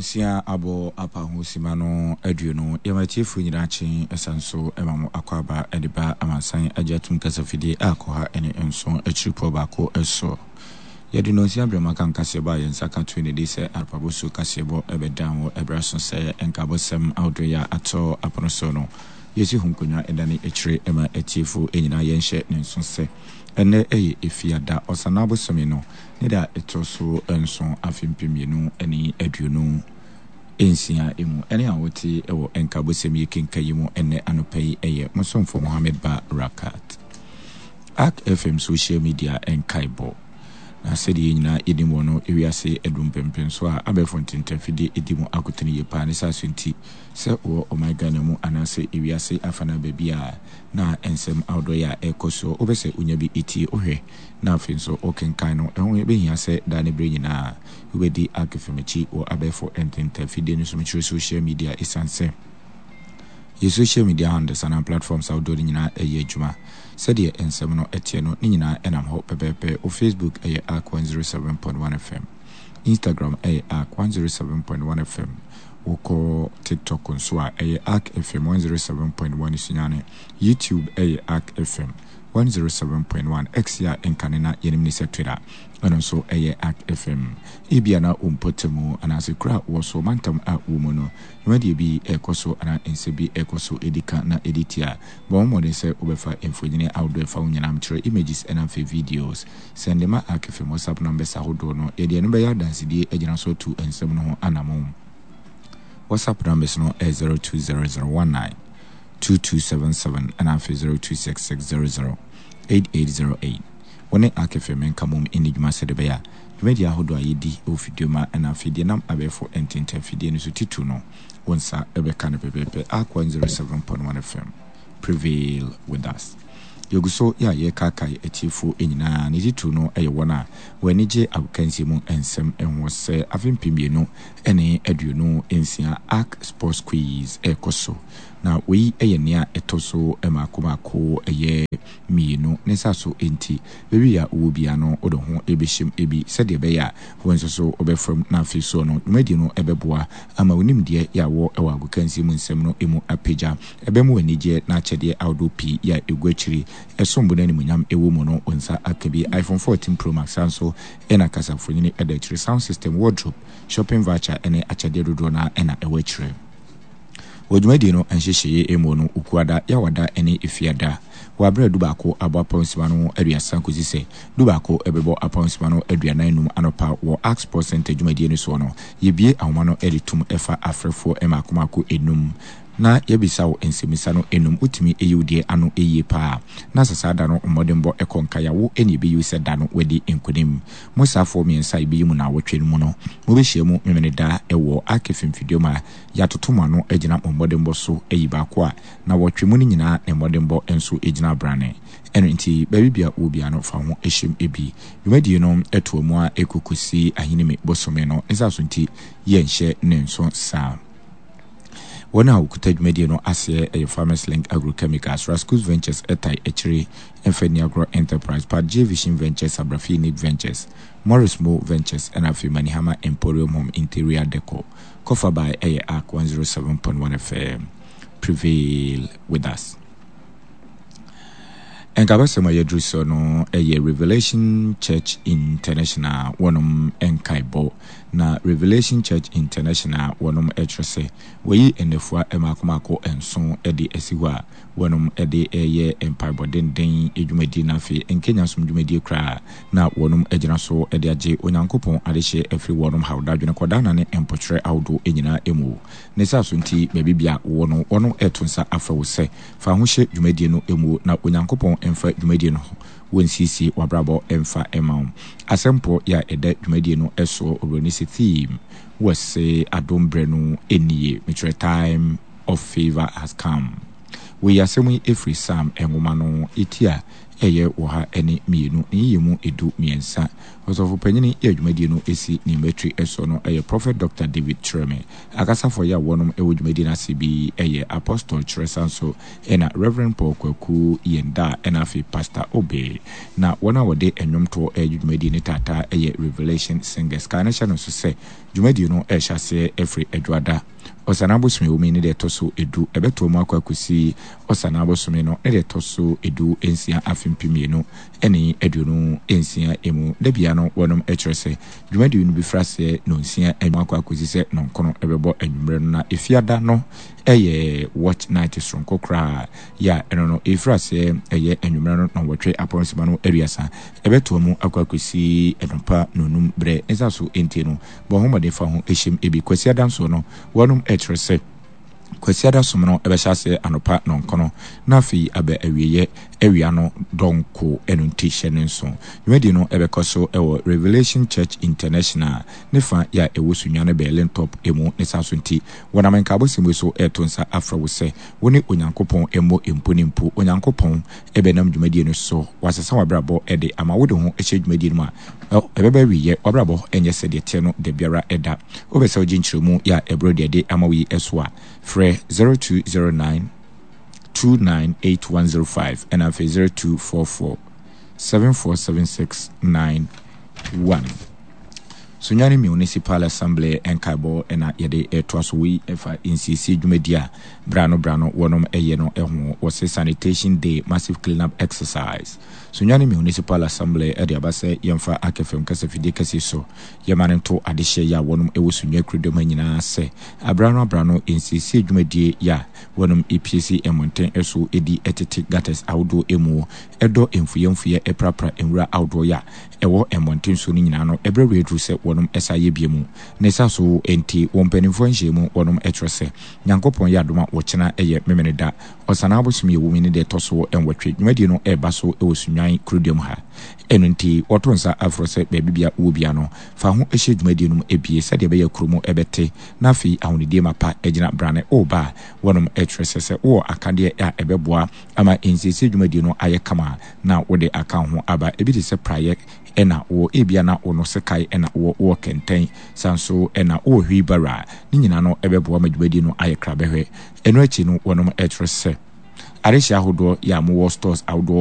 Nonsia abɔ apa ho sima no aduonu. Yɛma atiefoɔ nyinaa kye ɛsan so ma mo akwaaba de ba amansan agye atom kasafidie a kɔha ne nson akyiripɔ baako so. Yɛde nonsia berɛ mu aka nkaseɛbɔ a yɛn nsa ka to ne di sɛ Arpabosu kaseɛbɔ bɛdan wɔ ɛberɛ aso sɛ nkabɔsɛm ahodoɔ yi a atɔ apono so no yɛsi ho nkonnwa dane akyire ma atiefoɔ nyinaa yɛnhyɛ ne nso sɛ ɛnnɛ yɛ Efiada Ɔsanaa bosome no ne da a ɛtɔ so nson afe 2026 mu. Ɛne a wote wɔ nkabɔsɛm yi kenka yi mu ɛnnɛ anɔpa yi yɛ mo somfo Mohammed Ba Rakat. Ark FM social media nkaebɔ. Na sɛdeɛ yɛn nyinaa yɛnim wɔ no, ewiase adu mpɛnpɛnsoɔ a abɛɛfo ntentafidie di mu akotene yie paa. Ne saa so nti, sɛ wɔ ɔman Ghana mu anaasɛ ewiase afanaa baabi a na nsɛm ahodoɔ yi a ɛrekɔ soɔ, wopɛ sɛ wonya bi tie, wohwɛ, na afei nso wokenkan no, ɛho bɛhia sɛ daa ne berɛ nyinaa wobɛdi Ark FM akyi wɔ abɛɛfo ntentafidie no so, mekyerɛ social media, ɛsiane sɛ Yɛn social media handles anaa platforms ahodoɔ no nyinaa ɛyɛ adwuma. Sɛdeɛ nsɛm no teɛ no, ne nyinaa ɛnam hɔ pɛpɛɛpɛ. Wo Facebook ɛyɛ Ark 107.1 FM. Instagram ɛyɛ Ark 107.1 FM. Wokɔ TikTok nso a, ɛyɛ Ark FM 107.1 Sunyani. YouTube ɛyɛ Ark FM 107.1. X a ɛnkane na yɛnim ne sɛ Twitter, ɛno nso ɛyɛ Ark FM. Ebia na wo mpɔtamu anaasɛ kuro a wowɔ so, mantam a wowɔ mu no, Dwumadie bi rekɔ so anaa nsɛm bi rekɔ so di ka na ɛdi tia. Bɔ wo mmɔden sɛ wobɛfa mfonini ahodoɔ a ɛfa wo nyinaa kyerɛ, images ɛna afei videos. Sɛnde ma Arc-Fm WhatsApp numbers ahodoɔ no. Yɛde ɛno bɛyɛ adansedie agyina so atu nsɛm no ho anamon. WhatsApp numbers no yɛ 020019 2277 ɛna afei 026600 8808. Wo ne Arc-Fm nka mmom nni dwuma sɛdeɛ ɛbɛyɛ a Dwumadi ahodoɔ a yɛdi wɔ fidua mu a ɛna afei deɛ nam abɛɛfo ntentan fidie no so titiriw no, wo nsa bɛka no pɛpɛɛpɛ. Ark 107.1 FM, prevail with us. Yɛgu so yɛ a yɛrekaakae atiefoɔ nyinaa, ne titiriw no yɛ wɔn a wɔn ani gye agokansie mu nsɛm ho sɛ afe 2026 Ark Sports Quiz rekɔ so. Na wei yɛ nea ɛtɔ so mmaako mmaako ɛyɛ mmienu. Ne sa so nti, Baabi a wowɔ biara no, wode wo ho bɛhyɛ mu bi sɛdeɛ ɛbɛyɛ a wo nso so wobɛfa mu, na afei soɔ no, dwumadie no bɛboa ama wo nimdeɛ a wɔ wɔ agokansie mu nsɛm no mu apagya. Ɛbɛma wo anigyeɛ na akyɛdeɛ ahodoɔ pii a ɛgu akyire, ɛsom bo na animuonyam wɔ mu no, wo nsa aka bi. iPhone 14 Pro Max saa nso na kasamfonin da akyire, sound system, wardrobe, shopping voucher ne akyɛdeɛ dodoɔ no ara na ɛwɔ akyire. Wɔ dwumadie no nhyehyɛeɛ mu no, Okuada, Yawada ne Efiada wɔ aberɛ a dubaako abɔ apɔnsima no aduasa kɔsi sɛ dubaako bɛbɔ apɔnsima no 45 anɔpa wɔ Ark Sports Centre dwumadie no soɔ no, yɛbue ahoma no de tom fa afrɛfoɔ mmaako mmaako nnum na yɛbisa wo nsɛmmisa no nnum. Wotumi yi wo deɛ ano yie pa ara na sɛ saa da no mmɔdenbɔ kɔ nkae a, wo na yɛbɛyi wo sɛ da no woadi nkonim. Mo saafoɔ mmiɛnsa a yɛbɛyi mo naawɔtwe no mu no, mobɛhyia mu Memeneda wɔ Ark Mfimfiduam a Yɛatoto mo ano agyina mo mmɔdenbɔ so ayi baako a nnawɔtwe mu no nyinaa ne mmɔdenbɔ nso gyina abrane. Ɛno nti, baabi biara wowɔ biara no, fa wo ho hyem bi. Dwumadie no toa mu ara kɔ kɔsi Ahinime bosome no nsa so nti yɛnhyɛ ne nso saa. Wɔn a wɔkuta dwumadie no aseɛ yɛ Farmers Link Agrochemicals, Rascus Ventures tae akyire, Mfa Nni Agorɔ Enterprise, Part J Vision Ventures, Abrafi Unique Ventures, Morris Mo Ventures ɛna afei Manihama Emporium Home Interior Decor. Kɔfa by ɛyɛ Ark 107.1 FM. Prevail with us. Nkabasɛm a yɛduru so no ɛyɛ Revelation Church International wɔnom nkaebɔ. Na Revelation Church International wɔnom ɛkyerɛ sɛ wɔyi nnafua mmaako mmaako nson de asi hɔ a wɔnom de reyɛ mpaebɔ denden dwumadie na afei nkenya som dwumadie koraa na wɔnom agyina so de agye Onyankopɔn adehyeɛ afiri wɔnom haw dadwene kɔdaanna ne mpokyerɛ ahodoɔ nyinaa mu. Ne saa so nti baabi bia wowɔ no wɔnom reto nsa afrɛ wo sɛ fa ho hyɛ dwumadie no mu na Onyankopɔn mfa dwumadie no ho wɔ nsiesie w'abrabɔ mfa mma wo. Asɛmpɔ yɛ a ɛda dwumadie no soɔ Obroni se theme wɔ se adom berɛ no nie mekyerɛ time of favour has come. Wɔyi asɛm yi firi Psalm nwoma no ti a. ɛyɛ 102 ne yiyemu 13. Ɔsɔfo panyin yɛ dwumadie no si ne mmatiri soɔ no yɛ Prophet Dɔkta David Kyerɛme. Akasafoɔ yɛ a wɔnom wɔ dwumadie no ase bi yɛ Apostle Kyerɛ Sanso ɛna Rev. Paul Kwaku Yendaa ɛna afei Pastor Obey. Na wɔn a wɔde nnwomtoɔ regye dwumadie no taataa yɛ Revelation Singers. Kae na hyɛ no nso sɛ dwumadie no rehyɛ aseɛ firi Adwoada, Ɔsanaa bosome ɛwɔ mu yi ne deɛ ɛtɔ so du, ɛbɛtoa mu akɔ akɔsi Ɔsanaa bosome no ne deɛ ɛtɔ so 16 afe 2026 mu. Da biara no wɔnom kyerɛ sɛ dwumadie no bɛfiri aseɛ nnɔnsia anwummerɛ akɔ akɔsi sɛ nnɔnkono bɛbɔ anwummerɛ no na Efiada no yɛ watch night soronko koraa yɛ a ɛno no ɛfiri aseɛ ɛyɛ anwummerɛ no nnɔnwɔtwe apɔnsima no aduasa ɛbɛtoa mu akɔ akɔsi anɔpa nnɔnum berɛ ne saa so nti no bɔ ho mmɔden fa ho hyem bi. Kwasiada nso no wɔnom kyerɛ sɛ Kwasiada som no bɛhyɛ aseɛ anɔpa nnɔnkron na afei aba awieɛ awia no dɔnko, ɛno nti hyɛ no nso. Dwumadie no bɛkɔ so wɔ Revelation Church International ne fa yɛ a ɛwɔ Sunyani Berlin Top mu ne saa so nti wɔnam nkaabɔsɛm yi so reto nsa afrɛ wo sɛ wo ne Onyankopɔn mmɔ mpo ne mpo. Onyankopɔn bɛnam dwumadie no so wasesa w'abrabɔ de ama wode ho hyɛ dwumadie no mu a ɛbɛba awieɛ, w'abrabɔ nyɛ sɛdeɛ ɛteɛ no dabiara da. Wopɛ sɛ wogye nkyerɛmu yi a ɛboro deɛ ɛde ama wo yi so a, frɛ 0209 298105 ɛna afei 0244 747691. Sunyani Municipal Assembly nkaebɔ na yɛde retoa so. Wei ɛfa nsiesie dwumadi a berɛ ano berɛ ano wɔnom ɛyɛ no ho. Wɔse Sanitation Day Massive Cleanup Exercise. Sunyani Municipal Assembly de aba sɛ yɛmfa Akɛfɛm kasafidie kɛseɛ so yɛma no nto adehyeɛ yɛ a wɔnom wɔ Sunyani kurodua mu ha nyinaa sɛ aberɛ ano aberɛ ano nsiesie dwumadie yɛ a wɔnom pie si mmɔnten so di tete gutters ahodoɔ mu dɔ mfuiɛ mfuiɛ prapra nwura ahodoɔ yɛ a ɛwɔ mmɔnten so no nyinaa no berɛ reduru sɛ wɔnom sa yɛ bie mu. Ne sa so nti wɔ mpaninfoɔ nhyiamu wɔnom kyerɛ sɛ Nyankopɔn yɛ adom a wɔkyena yɛ Memeneda Ɔsanaa bosome a ɛwɔ mu yi ne deɛ ɛtɔ so nwɔtwe. Dwumadie no reba so wɔ Sunnwan kuroduam ha. Ɛno nti, wɔto nsa frɛ sɛ baabi biara wowɔ biara no, fa ho hyɛ dwumadie no mu bie sɛdeɛ ɛbɛyɛ a kuro mu bɛte na afei ahonidie mapa agyina brane. Woreba a, wɔnom kyerɛ sɛ sɛ wowɔ akadeɛ a ɛbɛboa ama nsiesie dwumadie no ayɛ kama a, na wode aka wo ho aba. Ebi te sɛ praeɛ na wowɔ, ebia na wo no sekan na wowɔ, wowɔ kɛntɛn, saa nso na wowɔ wheelbarrow a, ne nyinaa no bɛboa ma dwumadie no ayɛ krabɛhwɛ. Ɛno akyi no wɔnom kyerɛ sɛ adehyeɛ ahodoɔ yɛ a mowɔ stores ahodoɔ.